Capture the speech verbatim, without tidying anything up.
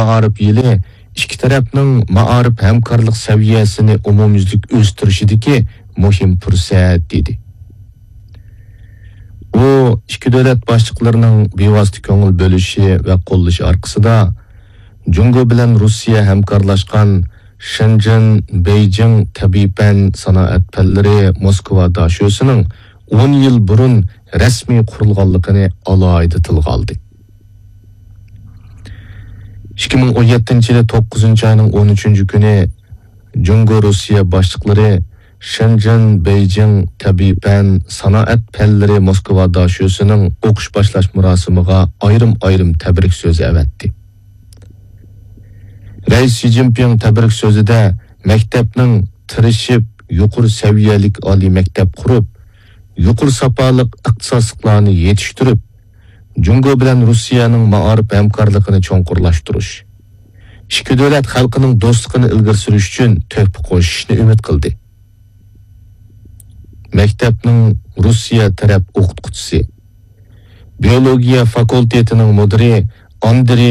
مائارىپ يىلى ئىككى تەرەپنىڭ مائارىپ ھەمكارلىق سەۋىيەسىنى ئومۇميۈزلۈك ئۆستۈرۈشىدىكى مۇھىم پۇرسەت، دېدى. ئۇ ئىككى دۆلەت باشلىقلىرىنىڭ بىۋاسىتە كۆڭۈل بۆلۈشى ۋە قوللىشى ئارقىسىدا، جۇڭگو بىلەن روسىيە ھەمكارلاشقان شېنجېن، بېيجىڭ تەبىئىي پەن سانائەت پەنلىرى موسكۋا داشۆسىنىڭ ئون يىل بۇرۇن رەسمىي قۇرۇلغانلىقىنى ئالاھىدە تىلغا ئالدى. ئىككى مىڭ ئون يەتتىنچى يىلى توققۇزىنچى ئاينىڭ ئون ئۈچىنچى كۈنى جۇڭگو روسىيە باشلىقلىرى شېنجېن، بېيجىڭ تەبىئىي پەن سانائەت پەنلىرى موسكۋا داشۆسىنىڭ ئوقۇش باشلاش مۇراسىمىغا ئايرىم-ئايرىم تەبرىك سۆزى ئەۋەتتى. رەئىس شى جىنپىڭ تەبرىك سۆزىدە مەكتەپنىڭ تىرىشىپ يۇقىرى سەۋىيەلىك ئالىي مەكتەپ قۇرۇپ، يۇقىرى ساپالىق ئىختىساسلىقلارنى يېتىشتۈرۈپ، جۇڭگو بىلەن روسىيەنىڭ مائارىپ ھەمكارلىقىنى چوڭقۇرلاشتۇرۇش، ئىككى دۆلەت خەلقىنىڭ دوستلۇقىنى ئىلگىرى سۈرۈش ئۈچۈن تۆھپە قوشۇشنى ئۈمىد قىلدى. مەكتەپنىڭ روسىيە تەرەپ ئوقۇتقۇچىسى، بىيولوگىيە فاكۇلتېتىنىڭ مۇدىرى ئاندرېي